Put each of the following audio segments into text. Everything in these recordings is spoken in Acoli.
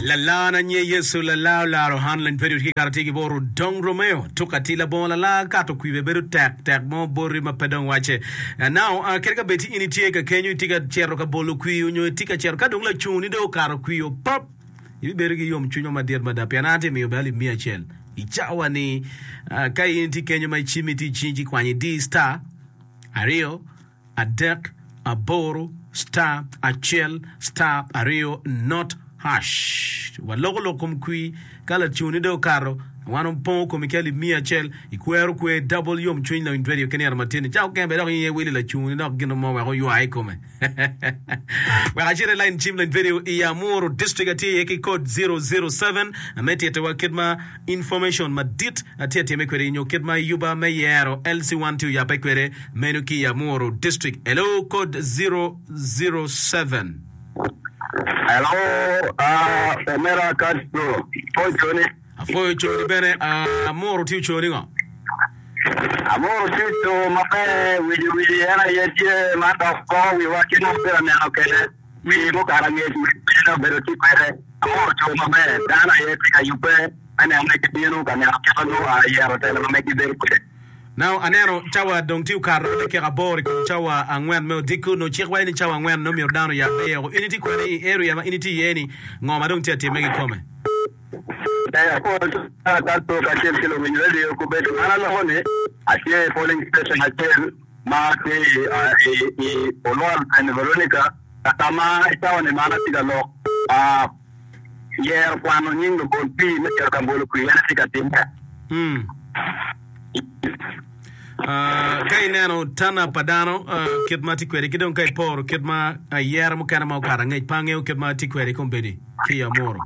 Lalana nye Yecu lala olaro han lany pedo ki kato tye ki boro dong Romeo tuk ati labongo lala kato kwibe bedo tek tek mo boti ma pe dong wace. Now kadi ka bed ti in itye ka kenyo itye ka cito ka bolo kwir onyo itye ka cito ka dong lacung ni dong okato kwir pap ibibedo ki yom cwiny mo madit mada pien an atye miyo bene alip miya acel i cawa ni ka in itye kenyo ma icimmi tye icingi ci ikwanyo idi star aryo adek, aboro, star, acel, star, aryo, not, hash. Waloko lok kom kwir ka laconi dong okato, wan opongo komi ki alip miya acel, ikwero kwer double yomcwiny lawiny radio ki nino matin-ni. Ca okene bene dok in iye wili laconi dok gin mo wek oywa i kome. Wek acit i line cim lawiny radio i Amuru district atye iye ki code 007 me titiwa kit ma Information madit atye atime kwede nyo kit ma yuba me yero LC1 tye oyabbe kwede meno ki i Amuru district. Hello code 007. Hello ah omera Castro pwoyo coni. Apwoyo coni bene Amuru tye oconi ngo? Amuru tye oco maber wici wici en aye tye ma dok koko wiwa kit ma wabedo ka neno kwede. Pi mukato angec mene obedo tye kwede, amoro co maber, dano aye tye ka yubbe me neno ni gibino ka neno kit ma nongo ayero telo ma meggi bedo kwede. Now aneno cawa dong tye okato dakika aboro i kom cawa angwen me odiko. Nongo cik waco ni cawa angwen nongo myero dano oyabbe iye. In itye kwene i area ma in itye iye ni? Ngo ma dong tye atimme kikome? Ee, apwoyo cwara Castro kacel ki luwiny radio kobedo an aloko ni atye i polling station acel. ma tye i Olwal Saint Veronica ka ka ma i cawa-ni ma an atye ka lok, yero kwano nying lubol pii me cito ka bolo kwir en aye tye ka timme. Ka ineno tana pa dano kit ma tye kwede ki dong ka iporo kit ma ayera mukene ma okato angec pe angeyo kit ma tye kwede i kombeddi ki i Amuru.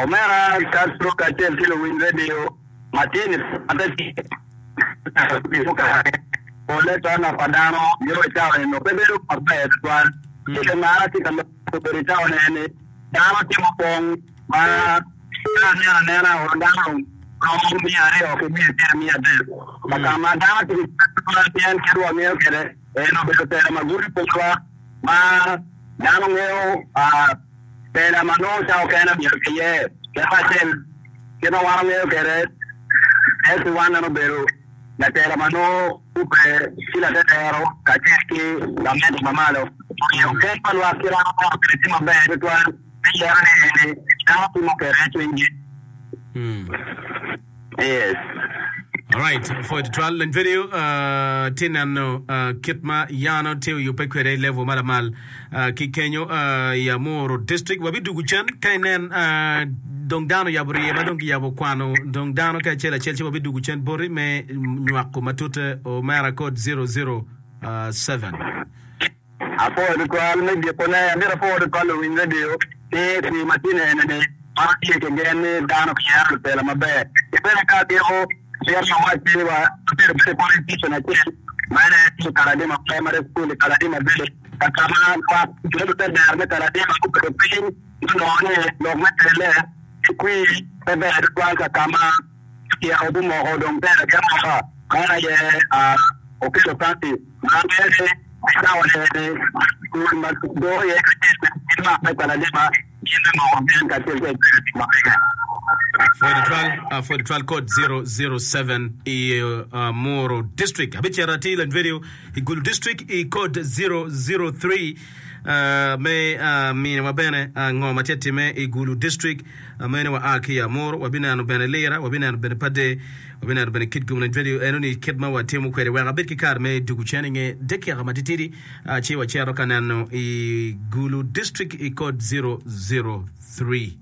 Omera Castro kacel ki luwiny redio ma tye ni Polle tona pa dano nyo i cawa eno pe bedo maber tutwal. Ento mar atye ka lok obedo i cawa eni dano tye mupong ma ka aneno anena oro dano romo 200 ki 130. Ka ma dano tye ki cwiny tutwal pien kit wangeyo kwede en obedo tela ma gudo polwa ma dano ngeyo tela ma nongo cawa okene myero kiye kit acel kit ma wan wangeyo kwede SC one en obedo latela ma nongo kubbe ki latetero kacel ki gamente ma malo omiyo ket pa lwak ki romo neno kwede tye maber tutwal me yero ni eni dano timo kwede cwinygi. Yes. Alright, pwoyo tutwal. Lony video uh, tye neno uh, kit ma yano tye oyubbe kwede i level ma lamal uh, ki kenyo uh, i Amuru district. Wabidugu cen ka inen uh, dong dano oyabo rye ma dong kiyabo kwano dong dano ki acel acel ci wabidugu cen boti me nywako matute omera code 007. Apwoyo tutwal me gikone. Amito apwo tutwal luwiny redio ki pi ma tye nene ni wan watye ki gen ni dano giyero lutela maber. Ki bene ka agiko, amito awac ni wa wabedo bene i polling station acel ma en aye tye i Kaladima Primary School i Kaladima Village ka ka ma lwak jo lutedero me Kaladima gubedo piny gunongo ni lok me tele ki kwir pe ber tutwal ka ka ma Tyeko gumoko dong ber ki amoka, man aye okelo pati ma mere i cawa eni dul ma doo iye kacel ki lwak me Kaladima gin me moko gen kacel ki executive ma mege. Pwod twal, pwod twal code 007 i Muru District. Abicito atir lany video i Gulu District i code 003 me miniwa bene ngo ma tye time i Gulu District. Meno wa a ki i Amuru, wabineno bene Lira, wabineno bene Pade, wabineno bene Kitgum Lany Radio. Eno ni kit ma watimo kwede wek abed ki kare me dugu cen i nge dakika matitidi ci wacito ka neno i Gulu District i code 003.